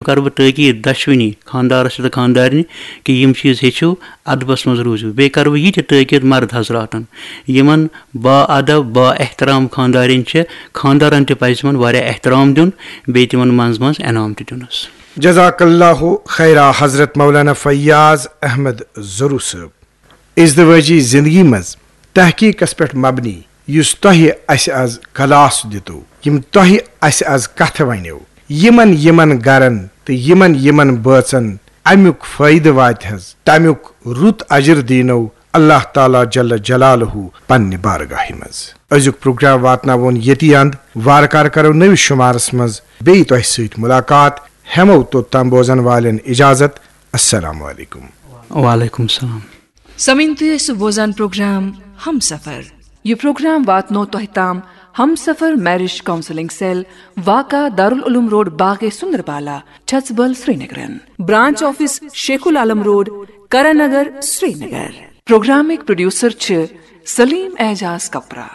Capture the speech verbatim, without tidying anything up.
کرٕ بہٕ تٲکیٖد دۄشوٕنی خانٛدارس تہٕ خانٛدارنہِ کہِ یِم چیٖز ہیٚچھِو، ادبس منٛز روٗزِو۔ بیٚیہِ کرٕ بہٕ یہِ تہِ تٲکیٖد مرد حضراتن، یِمن با ادب، با احترام خانٛدارِنۍ چھِ، خانٛدارن تہِ پزِ تِمن واریاہ احترام دیُن، بیٚیہِ تِمن منٛز منٛز انعام تہِ دیُنس۔ جزاک اللہ خیرا حضرت مولانا فیاض احمد ضرو صٲب۔ ازدواجی زندگی منٛز تحقیقس پٮ۪ٹھ مبنی یُس تۄہہِ اسہِ از کلاس دِتو، یِم تۄہہِ اسہِ از کتھٕ ونیو، یِمن یِمن گرن تہٕ یِمن یِمن بٲژن امیُک فٲیدٕ واتہِ حظ، تمیُک رُت اجر دینو اللہ تعالیٰ جل جلالہ پننہِ بارگاہہِ منٛز۔ أزیُک پروگرام واتناوون ییٚتی اند۔ وارٕ کارٕ کرو نٔوِس شمارس منٛز بیٚیہِ تۄہہِ سۭتۍ ملاقات۔ ہٮ۪مو توٚت تام بوزن والٮ۪ن اجازت۔ السلام علیکم۔ وعلیکم السلام۔ سمعین، تُہۍ ٲسِو بوزان پروگرام ہم سفر۔ یہِ پروگرام واتنو تۄہہِ تام ہم سفر میرج کاؤنسلنگ سیل، واقع دارالعلوم روڈ، باغ سندربالا، چھژبل، سرینگرن۔ برانچ آفس شیخ العالم روڈ، کرن نگر، سرینگر۔ پروگرامٕکۍ پروڈیوسر چھِ سلیم اعجاز کپرا۔